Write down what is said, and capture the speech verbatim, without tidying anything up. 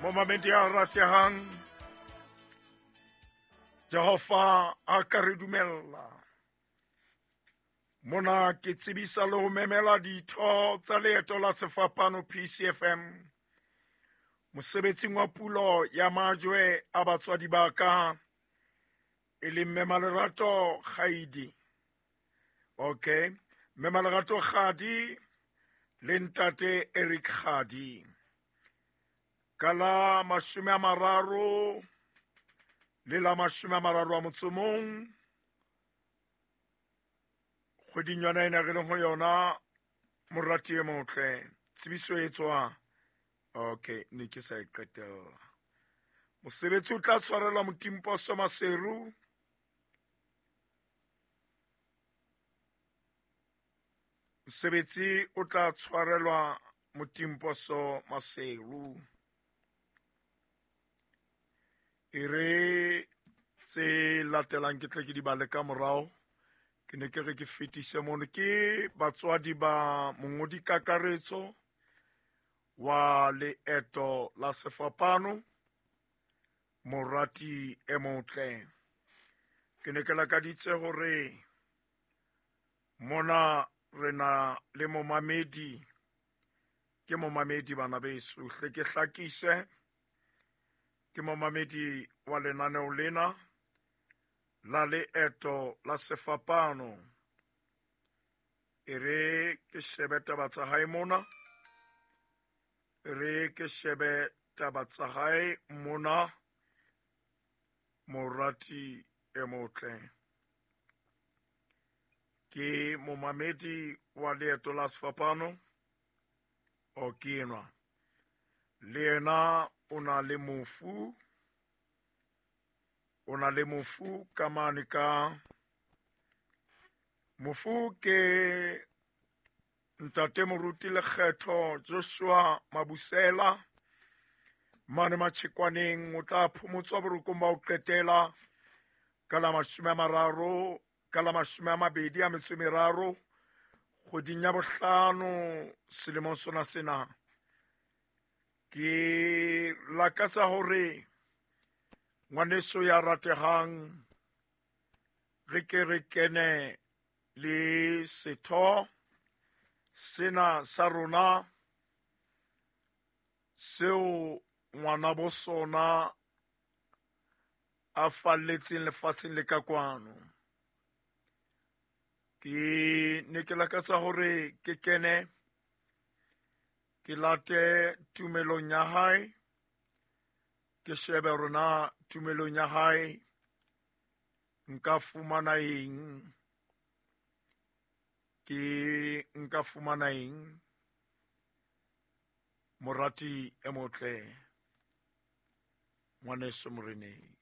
Momamedi a ratehang, Jehova a ka re dumella. Mona ke tsebisa le ho memela ditho tsa leeto la sefapano P C F M mosebetsing wa pulo ya majwe a batswadi ba ka, e leng Mme Malerato Kgaidi. Okay, Mme Malerato Kgadi le Ntate Eric Kgadi. Ka la mashome a mararo le la mashome a mararo a motso mong, kgweding yona ena re leng ho yona, morati e motle, tsebiso e tswa. Okay, ne ke sa e qetella. Mosebetsi o tla tshwarelwa Motimposo Maseru. Mosebetsi o tla tshwarelwa Motimposo Maseru. E re tse latelang ke tle ke di bale ka morao. Ke ne ke re ke fetise mono. Ke batswadi ba mongodi kakaretso wa leeto la sefapano, morati e motle. Ke ne ke lakaditse hore mona re na le momamedi, ke momamedi bana beso, hle ke hlakise, ke momamedi wa lenaneo lena la leeto la sefapano. E re ke shebe taba tsa hae mona, e re ke shebe taba tsa hae mona, morati e motle. Ke momamedi wa leeto la sefapano, o ke enwa. Le yena o na le mofu, o na le mofu ka mane ka mofu ke Ntate Moruti Lekgetho Joshua Mabusela mane Matjhekwaneng. O tla phomotswa borokong ba ho qetela ka la mashome a mararo, ka la mashome a mabedi a metso e meraro kgweding ya bohlano selemong sona sena. Ke lakatsa hore ngwaneso ya ratehang re ke re kene le setho sena sa rona seo ngwana bo sona a falletseng lefatsheng le ka kwano. Ke ne ke lakatsa hore ke kene ke late tumelong ya hae, ke shebe rona tumelong ya hae nka fumana eng, ke nka fumana eng, morati e motle, ngwaneso moreneng.